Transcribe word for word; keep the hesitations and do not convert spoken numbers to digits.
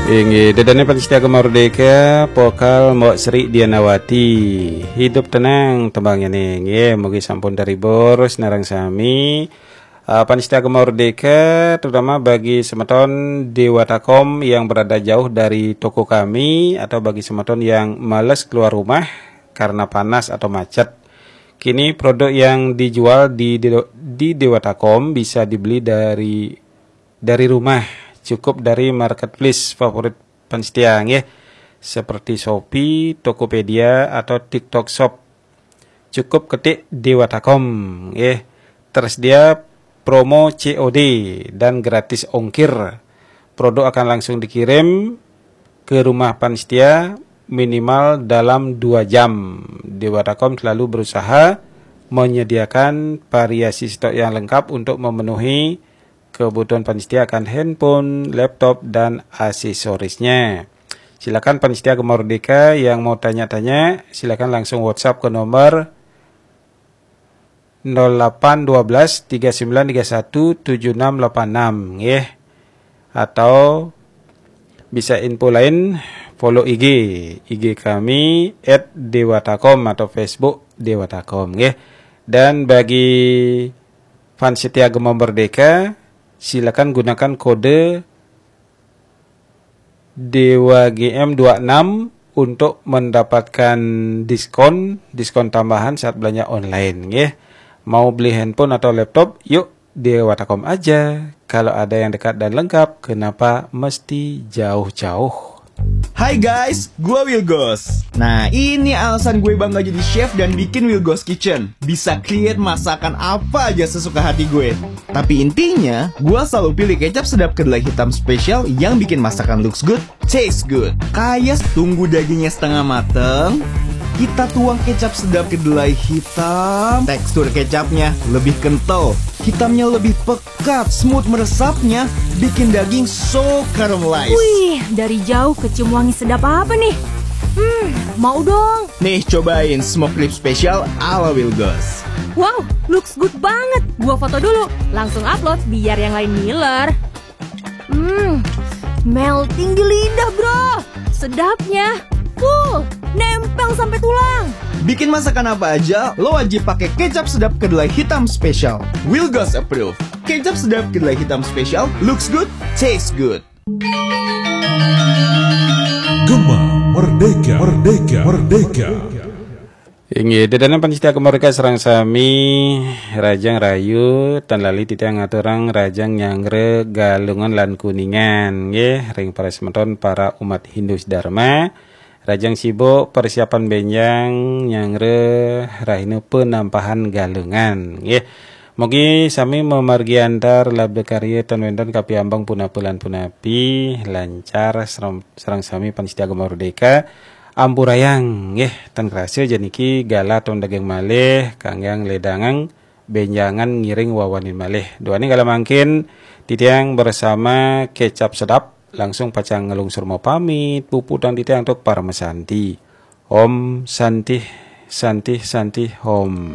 Inggih, dedane panitia Gema Merdeka, vokal Mbok Sri Dianawati. Hidup tenang tembangnya nih. Nggih, mugi sampun terhibur sinareng sami. Eh, panitia Gema Merdeka, terutama bagi semeton Dewatakom yang berada jauh dari toko kami atau bagi semeton yang males keluar rumah karena panas atau macet. Kini produk yang dijual di di, di Dewatakom bisa dibeli dari dari rumah, cukup dari marketplace favorit panitia nggih, seperti Shopee, Tokopedia, atau TikTok Shop. Cukup ketik Dewatakom nggih. Tersedia promo C O D dan gratis ongkir. Produk akan langsung dikirim ke rumah panitia minimal dalam dua jam. Dewatakom selalu berusaha menyediakan variasi stok yang lengkap untuk memenuhi kebutuhan panitia akan handphone, laptop, dan aksesorisnya. Silakan panitia Gema Merdeka yang mau tanya-tanya, silakan langsung WhatsApp ke nomor nol delapan dua belas tiga sembilan tiga satu tujuh enam delapan enam nggih. Atau bisa info lain, follow I G, I G kami at dewatakom atau Facebook Dewatakom nggih. Dan bagi fans setia Gema Merdeka, silakan gunakan kode Dewa G M dua enam untuk mendapatkan diskon, diskon tambahan saat belanja online nggih. Mau beli handphone atau laptop, yuk Dewatakom aja. Kalau ada yang dekat dan lengkap, kenapa mesti jauh-jauh? Hai guys, gue Wilgos. Nah, ini alasan gue bangga jadi chef dan bikin Wilgos Kitchen. Bisa create masakan apa aja sesuka hati gue. Tapi intinya, gue selalu pilih kecap sedap kedelai hitam spesial yang bikin masakan looks good, taste good. Kayak tunggu dagingnya setengah mateng, kita tuang kecap sedap kedelai hitam. Tekstur kecapnya lebih kental, hitamnya lebih pekat, smooth meresapnya, bikin daging so caramelized. Wih, dari jauh kecium wangi sedap apa nih? Hmm, mau dong. Nih, cobain smoke rib special ala Wilgos. Wow, looks good banget. Gua foto dulu, langsung upload biar yang lain ngiler. Hmm, melting di lidah, bro. Sedapnya. Full, nempel sampai tulang. Bikin masakan apa aja, lo wajib pakai kecap sedap kedelai hitam spesial. Wilgos approve. Kecap sedap kedelai hitam spesial, looks good, taste good. Gema Merdeka, Merdeka, Merdeka. Inggih, dedana panitia Gema Merdeka sareng sami, rajang rahayu, tan lali titiang ngaturang rajang nyanggra Galungan lan Kuningan nggih, ring para semeton para umat Hindu sedharma. Rajang sibuk persiapan benjang nyanggra rahina penampahan Galungan nggih. Mugi sami mamargi antar labda karya tan wénten kapiambang punapa lan punapi lancar sareng, sareng sami panitia Gema Merdeka. Ampurayang nggih, tan krasa janiki galah ton daging malih kangge ledangang benjangan ngiring wawanin malih. Duaning kala mangkin titiang bersama Kecap Sedap langsung pacang nglungsur mapamit, puputang titiang antuk parama santi. Om Santih, Santih, Santih, Om.